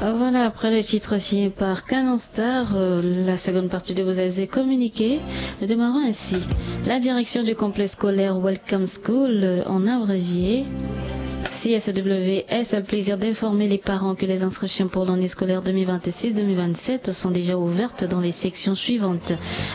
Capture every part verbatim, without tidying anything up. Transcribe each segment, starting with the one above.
Ah, voilà, après le titre signé par Canon Star, euh, la seconde partie de vos avis est communiquée. Nous démarrons ainsi. La direction du complexe scolaire Welcome School, euh, en abrégé, C S W S, a le plaisir d'informer les parents que les inscriptions pour l'année scolaire deux mille vingt-six deux mille vingt-sept sont déjà ouvertes dans les sections suivantes.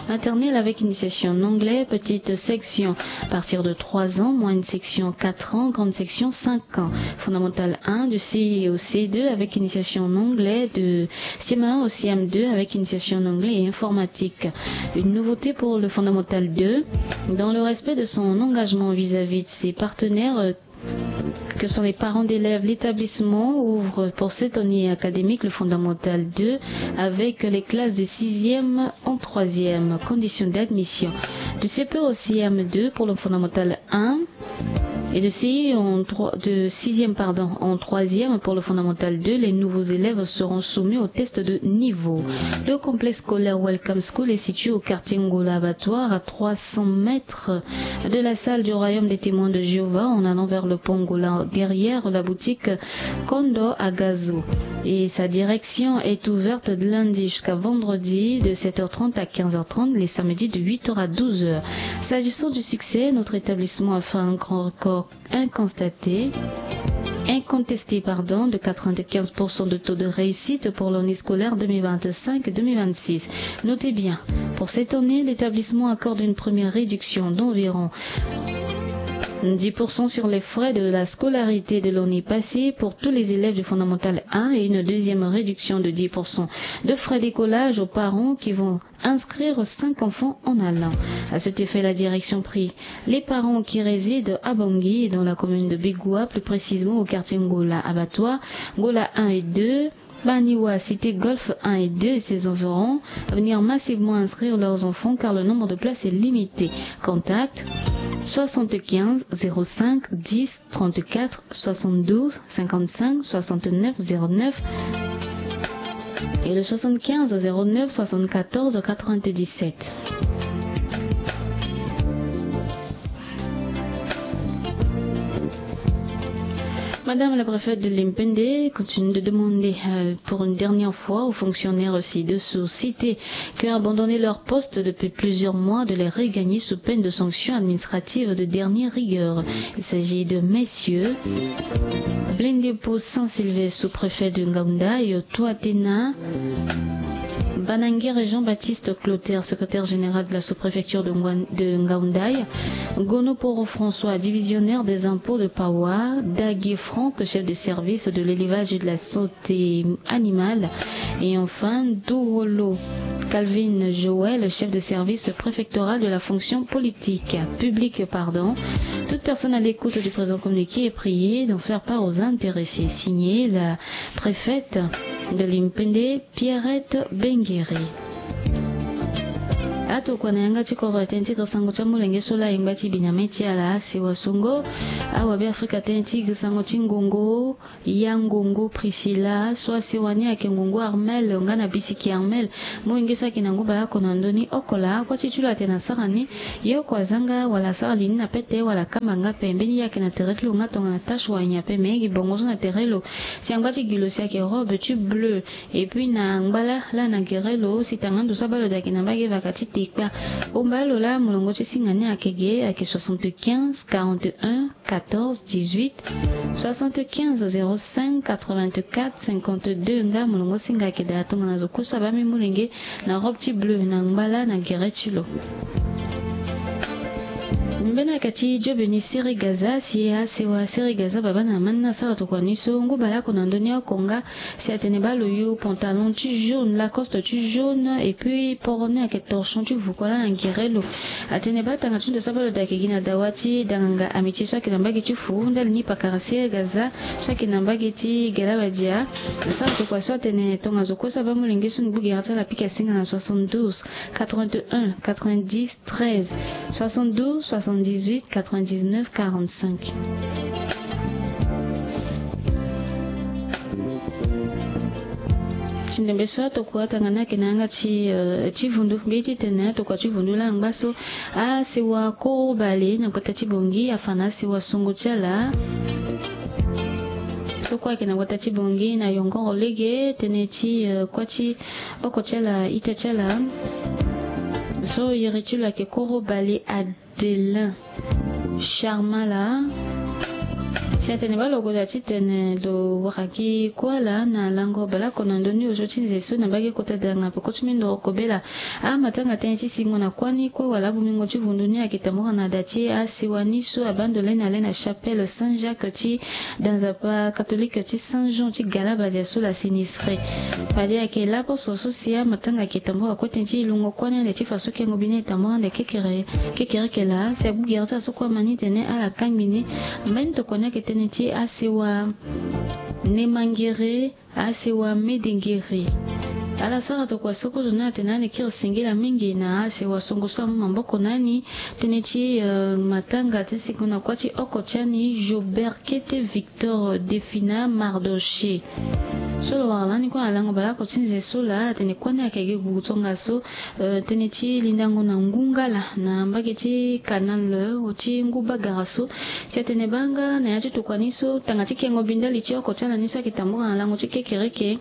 Maternelle avec initiation en anglais, petite section à partir de trois ans, moyenne section quatre ans, grande section cinq ans. Fondamentale un, de C I au C deux avec initiation en anglais, de C M un au C M deux avec initiation en anglais et informatique. Une nouveauté pour le fondamental deux, dans le respect de son engagement vis-à-vis de ses partenaires, euh, que sont les parents d'élèves, l'établissement ouvre pour cette année académique le fondamental deux avec les classes de sixième en troisième. Conditions d'admission. De C P au C M deux pour le fondamental un et de C I en trois, de sixième, pardon, en troisième pour le fondamental deux, les nouveaux élèves seront soumis au test de niveau. Le complexe scolaire Welcome School est situé au quartier Ngola Abattoir, à trois cents mètres de la salle du Royaume des Témoins de Jéhovah, en allant vers le pont Ngola, derrière la boutique Kondo à Gazou. Et sa direction est ouverte de lundi jusqu'à vendredi, de sept heures trente à quinze heures trente, les samedis de huit heures à douze heures. S'agissant du succès, notre établissement a fait un grand record inconstaté, incontesté, pardon, de quatre-vingt-quinze pour cent de taux de réussite pour l'année scolaire deux mille vingt-cinq deux mille vingt-six. Notez bien, pour cette année, l'établissement accorde une première réduction d'environ dix pour cent sur les frais de la scolarité de l'année passée pour tous les élèves du fondamental un et une deuxième réduction de dix pour cent de frais d'écolage aux parents qui vont inscrire cinq enfants en allant. À cet effet, la direction prie les parents qui résident à Bangui, dans la commune de Bigua, plus précisément au quartier Ngola Abattoir, Ngola un et deux, Baniwa, cité Golfe un et deux et ses environs, à venir massivement inscrire leurs enfants car le nombre de places est limité. Contact soixante-quinze zéro cinq dix trente-quatre soixante-douze cinquante-cinq soixante-neuf zéro neuf et le soixante-quinze zéro neuf soixante-quatorze quatre-vingt-dix-sept. Madame la préfète de Limpende continue de demander, euh, pour une dernière fois aux fonctionnaires ci-dessous cités qui ont abandonné leur poste depuis plusieurs mois de les regagner sous peine de sanctions administratives de dernière rigueur. Il s'agit de messieurs Blendepo Saint-Sylvestre, sous-préfet de Ngaoundaya, Touatena, Banangere Jean-Baptiste Clotaire, secrétaire général de la sous-préfecture de Ngwan-, de Ngaoundaya, Gonoporo François, divisionnaire des impôts de Pawa, Dagui Franck, chef de service de l'élevage et de la santé animale, et enfin Dourolo Calvin Joël, chef de service préfectoral de la fonction politique, publique, pardon. Toute personne à l'écoute du présent communiqué est priée d'en faire part aux intéressés. Signé la préfète de Limpende, Pierrette Bengueré. Atokua na yanga ti kodro atene ti sango ti amolenge so laa ayeke ngba ti Benjamin ti ala asewa songo. Awabe Afrika atene ti sango ti ngongo, ya ngongo Priscilla so asewa ni ayeke ngongo Armel nga na bisiki Armel. Molenge so ayeke na ngu baleoko na ndö ni oko laa, kua ti ti lo atene asara ni, ye oko azanga wala asara li ni na pete wala akamba nga ape. Mbeni ye ayeke na tere ti lo nga tongana tache wala nyen ape, me gi bongo so na tere lo. Si angba ti gi lo si ayeke robe ti bleu. Et puis na ngba laa na gere lo si tanga ndo so abaa lo daa ayeke na mbage vaka ti tekpa. Omba lo laa molongo ti singa ni ayeke ge, ayeke soixante-quinze quarante et un quatorze dix-huit, soixante-quinze zéro cinq quatre-vingt-quatre cinquante-deux. Nga molongo singa ayeke daa tongana zo kue so abaa mbi molenge na robe ti bleu na ngba laa na gere ti lo. Mbeni ayeke ti jobe ni Sere Gaza, si asewa Sere Gaza babâ na mani ni asara tokua ni so ngu baleoko na ndö ni oko nga. Si atene baa lo yu pantalon ti jaune, Lacoste ti jaune, et puis poro ni ayeke torchon ti vuku laa na gere lo. Atene baa tanga ti ndo so abaa lo daa ayeke gi na dawa ti danganga Amitié so ayeke na mbage ti fu ndali ni pakara Sere Gaza so ayeke na mbage ti Galawadia. Asara tokua so atene tongaso kue so abaa molenge so ni gbu gere ti ala apika singa na soixante-douze quatre-vingt-un quatre-vingt-dix treize, soixante-douze soixante-dix-huit quatre-vingt-dix-neuf quarante-cinq. Ti ndembe so atokua tanga ni ayeke na yanga ti, eh, ti vundu. Mbi ye ti tene atokua ti vundu laa angba so asewa koro bale na gbata ti Bangui afa na asewa songo ti ala. so kue ayeke na gbata ti Bangui na yongoro lege tënë ti, eh, kuâ ti oko ti ala ita ti ala. So iri ti lo ayeke koro bale Adelin Charmala. Si atene baa lo goda titene lo wara gi kuâ laa na lango baleoko na ndö ni osio ti nze so na mbage kota danga peko ti mindoro kobela. Amatanga tënë ti singo na kuâ ni kue wala abungingo ti vundu ni ayeke tambura na da ti asewa ni so abaa ndo lani na le na chapelle Saint Jacques ti da nzapa catholique ti Saint Jean ti Galabadia so la sinistré. Fade ayeke laposo so si amatanga ayeke tambura kue tënë ti lungo kuâ ni ande ti fa so kengo bi ni e tambura ande kekere, kekereke laa si agbu gere ti ala so kue ama ni tene ala kangbi ni. Mbeni tokua ni ayeke tënë ti asewa Nemangere, asewa Medengere. Ala sara tokua so kozo ni atene ani kiri singila mingi na asewa songo so amu maboko na ani. Tënë ti, eh, matanga ti singo na kuâ ti oko ti ani Jobert Kete Victor Defina Mardoché. So lo wara lani kue na lango baleoko ti nze so laa atene kuâ ni ayeke gi gugu tongaso, eh, tënë ti lindango na ngu ngala na mbage ti Kanal, eh, ti ngu bagara so. Si atene baa nga na ya ti tokua ni so tanga ti kengo bi ndali ti oko ti ala ni so ayeke tambura na lango ti kekereke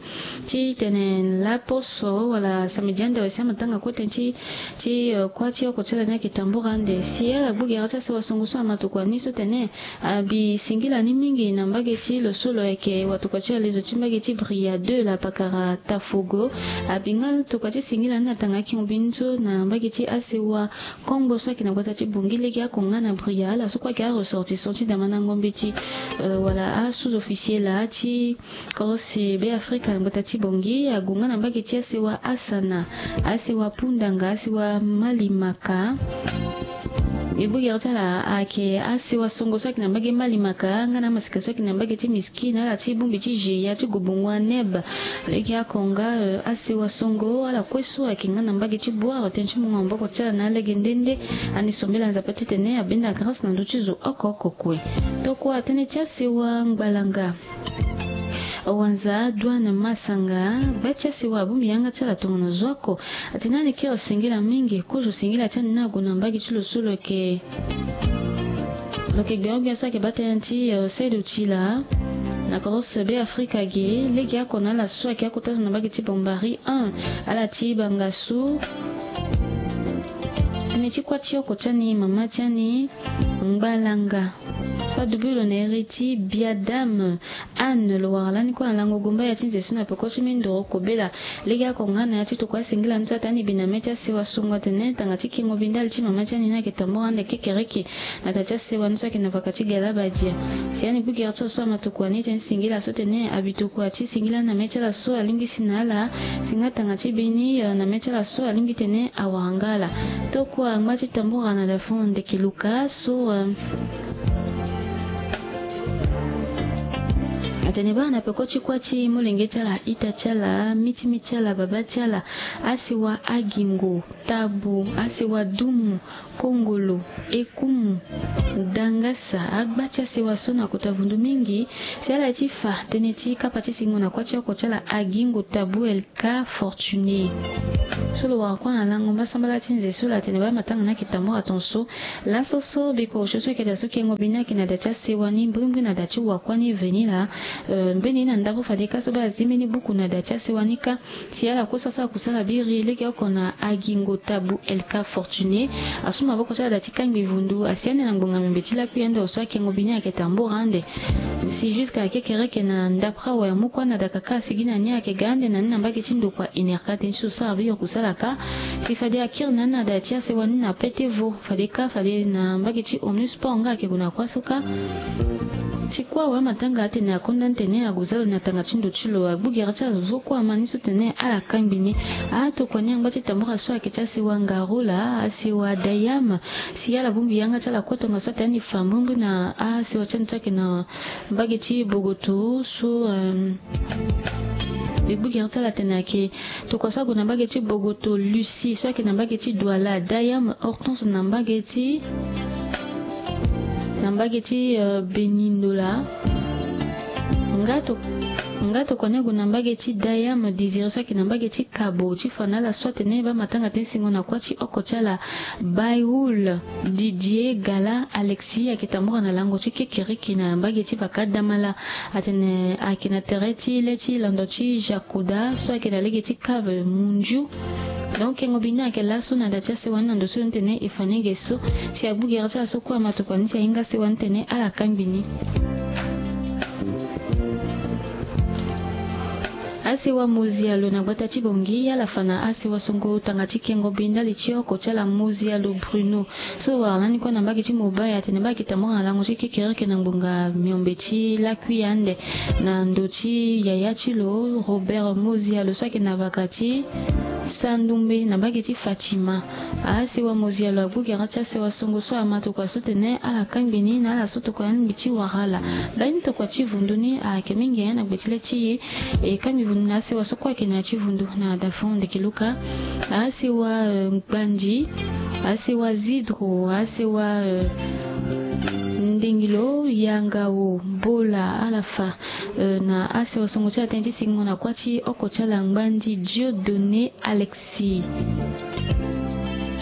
titene laposo wala samedi ande wala si amatanga kue tënë ti, ti, eh, kuâ ti oko ti ala ni ayeke tambura ande. Si ala gbu gere ti asewa songo so ama tokua ni so tene abi singila ni mingi na mbage ti lo so lo yeke watokua ti alezo ti mbage ti Bria deux la pakara Tafogo. Abi nga tokua ti singila ni na tanga akingo bi ni so na mbage ti asewa Kongbo so ayeke na gbata ti Bangui lege ako nga na Bria. Ala so kue ayeke aressortissant ti Damana Ngombe ti, eh, wala asous-officier laa ti Korose Beafrika na gbata ti Bangui ague nga na mbage ti asewa Asana, asewa Pundanga, asewa Malimaka. E gbu gere ti ala ayeke asewa songo so ayeke na mbage Malimaka nga na amasika so ayeke na mbage ti Miskine, ala ti bongbi ti Jeya ti Gobongo Aneb. Lege ako nga, eh, asewa songo ala kue so ayeke nga na mbage ti Bouar tënë ti mungo maboko ti ala na alege nde nde. Ani sombela Nzapa titene abenda grâce na ndö ti zo oko oko kue. Tokua tënë ti asewa Ngbalanga. Awanza Douane Masanga, gba ti asewa abongbi yanga ti ala tongana zo oko. Atene ani kiri singila mingi, kozo singila ti ani ni ague na mbage ti lo so lo yeke, lo yeke gbia gbia so ayeke baa tënë ti, eh, saido ti laa na Korose Beafrika ge, lege ako na ala so ayeke akota zo na mbage ti Bambari un, ala ti banga so. Tënë ti kuâ ti oko ti ani, mama ti ani, Ngbalanga. So adubi lo na iri ti Biadame Anne, lo wara lani kue na lango gomba ya ti nze so na peko ti mindoro kobela. Lege ako nga na ya ti tokua asingila ni so atene ani bi na mê ti asewa songo atene tanga ti kengo bi ndali ti mama ti ani ni ayeke tambura ande kekereke na da ti asewa ni so ayeke na vaka ti Galabadia. Si ani gbu gere ti lo so ama tokua ni tënë ti singila so tene abi tokua ti singila ni na mê ti ala so alingbi si na ala. Si nga tanga ti bi ni, eh, na mê ti ala so alingbi tene awara nga ala. Tokua ngba ti tambura na da fon ndeke luka so, eh, atene baa na peko ti kuâ ti molenge ti ala, ita ti ala, miti miti ti ala, babâ ti ala, asewa Agingo, Tabu, asewa Dumu, Kongolo, Ekumu, Dangasa, agba ti asewa so na kota vundu mingi. Si ala ti fa tënë ti kapa ti singo na kuâ ti oko ti ala Agingo, Tabu, Elka, Fortuné. So lo wara kue na lango mbasambala ti nze so la atene baa matanga ni ayeke tambura tongaso. Laso so biko osio so ayeke daa so kengo bi ni ayeke na da ti asewa ni mbrimbri na da ti wakua ni veni laa. Eh, mbeni na ndapre fade ka so baa azi mbeni buku na da ti asewa ni kâ. Si ala kue so asara kusala biri lege oko na Agingo, Tabu, Elka, Fortuné, asu maboko ti ala da ti kangbi vundu, asi ande na ngbonga membe ti lakui ande osio akengo bi ni ayeke tambura ande. Si jusqu'à kekereke na ndapre awe amu kue na da kaka asigi na ni ayeke ga ande na ni na mbage ti ndokua enerka tënë ti so sara biri kusala kâ. Si fade akiri na ni na da ti asewa ni na pete vo. Fade kâ fade na mbage ti omnisport nga ayeke gue na kuâ so kâ. Si kue awe amatanga atene akonda ni tene ague za lo na tanga ti ndo ti lo, agbu gere ti azo so kue ama ni so tene ala kangbi ni. Atokua ni angba ti tambura so ayeke ti asewa Ngarola, asewa Dayam. Si ala bongbi yanga ti ala kue tongaso atene ani fa mbrimbri na asewa ti ani so ayeke na mbage ti Bogoto so, eh, e gbu gere ti ala atene ayeke tokua so ague na mbage ti Bogoto, Lucie so ayeke na mbage ti Douala, Dayam, Hortense na mbage ti, na mbage ti, eh, Benindola. Nga to Nga tokua ni ague na mbage ti Dayam Désiré so ayeke na mbage ti Kabo ti fa na ala so atene baa matanga ti singo na kuâ ti oko ti ala. Bayrul Didier Gala Alexis ayeke tambura na lango ti kekereke na mbage ti Bakadamala. Atene ayeke na tere ti le ti lando ti Jakoda so ayeke na lege ti Cave Munju. Donc kengo bi ni ayeke laso na da ti asewa ni na ndo so ni tene e fa ni ge so. Si agbu gere ti ala so kue ama tokua ni si ahinga asewa ni tene ala kangbi ni. Asewa Mozialo na gbata ti Bongi ala fa na asewa songo tanga ti kengo bi ndali ti oko ti ala Mozialo Bruno so wara lani kue na mbage ti Mobaya atene baa ayeke tambura na lango ti kekereke na ngbonga miombe ti lakui ande na ndo ti yaya ti lo Robert Mozialo so ayeke na vaka ti Sandumbe na mbage ti Fatima. Asewa Mozialo agbu gere ti asewa songo so ama tokua so tene ala kangbi ni na ala so tokua ni ngbi ti wara ala. Mbeni tokua ti vundu ni ayeke mingi na gbe ti le ti e. E kangbi vundu na asewa so kue ayeke na ya ti vundu na dafon ndeke luka. Asewa eh, Gbandi, asewa Zidro, asewa eh, Ndingilo, Yangao, Bola, ala fa eh, na asewa songo ti ala tënë ti singo na kuâ ti oko ti ala Ngbandi Dieudonné Alexis.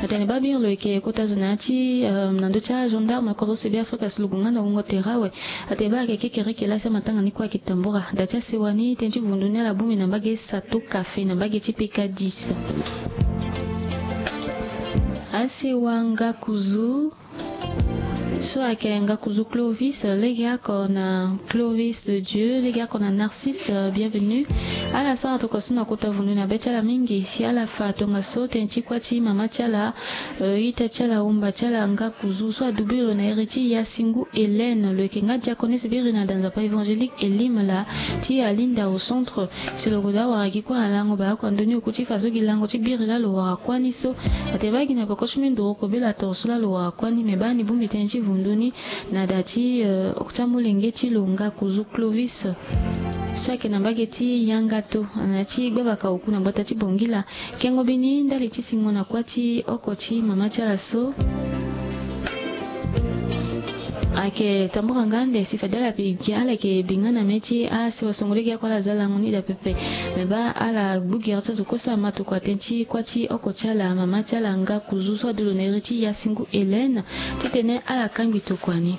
Atene baa biri lo yeke kota zo na ya ti eh, na ndö ti agendarme kodro Sebi Afrika si lo gue nga na wungo tere awe. Atene baa ayeke kekereke laa si amatanga ni kue ayeke tambura. Da ti asewa ni tënë ti vundu ni ala bongbi na mbage sato kafe na mbage ti peka dix. Asewa Ngakuzu so ayeke Ngakuzu Clovis legeoko na Clovis de Dieu legeoko na Narcisse eh, Bienvenu. Ala sara tokua so na kota vundu na be ti ala mingi si ala fa tongaso tënë ti kuâ ti mama ti ala eh, ita ti ala, umba ti ala Ngakuzu so adubi lo na iri ti Yasingu Hélène. Lo yeke nga diaconesse biri na da nzapa évangélique Elim laa ti Alinda au centre. Si lo gue daa wara gi kue na lango baa oko ando ni oku ti fa so gi lango ti biri laa lo wara kuâ ni so. Atene baa gi na peko ti mbi nduru kobela toro so laa lo wara kuâ ni me baa ni bongbi tënë ti vundu ni na da ti eh, oko ti amolenge ti lo Ngakuzu Clovis so ayeke na mbage ti Yangato na ya ti gbabaka oku na gbata ti Bongila. Kengo bi ni ndali ti singo na kuâ ti oko ti mama ti ala so ayeke tambura nga ande si fade ala bi gi ala yeke bi nga na mê ti asewa songo legeoko ala za lango ni daa pepe. Me baa ala gbu gere ti azo kue so ama tokua tënë ti kuâ ti oko ti ala mama ti ala Ngakuzu so adu lo na iri ti Yasingu Hélène titene ala kangbi tokua ni.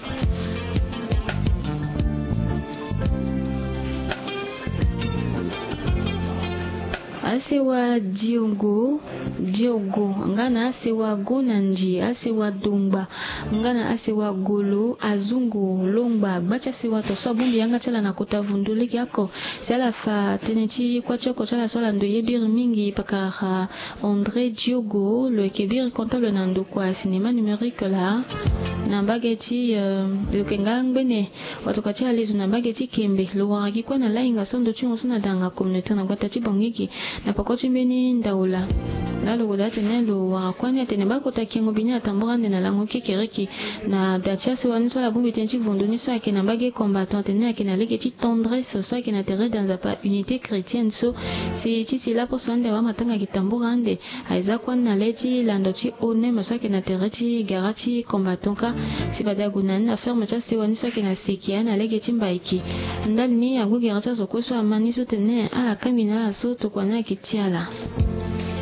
Asewa Diogo, Diogo nga na asewa Gonandi, asewa Dongba nga na asewa Golo, Azungu, Longba, gba ti asewa to so abongbi yanga ti ala na kota vundu legeoko. Si ala fa tënë ti kuâ ti oko ti ala so ala ndoye biri mingi pakara André Diogo lo yeke biri comptable na ndokua cinéma numérique laa na mbage ti eh, lo yeke nga ngbene watokua ti alezo na mbage ti Kembe. Lo wara gi kue na lahinga so ndo ti hongo so na danga communautaire na gbata ti Bangigi na peko ti mbeni ndao laa. Laa lo gue daa atene lo wara kuâ ni atene baa kota kengo bi ni atambura ande na lango kekereke na da ti asewa ni so ala bongbi tënë ti vundu ni so ayeke na mbage combattant atene ayeke na lege ti tendresse so ayeke na tere da nzapa unité chrétienne so. Si ti si laposo ande awamatanga ayeke tambura ande. Aye za kuâ ni na le ti lando ti O N M so ayeke na tere ti gara ti combattant kâ. Si fade ague na ni na ferme ti asewa ni so ayeke na seki aye na lege ti Mbaiki. Ndali ni agbu gere ti azo kue so ama ni so tene ala kangbi na ala so tokua ni ayeke ti ala.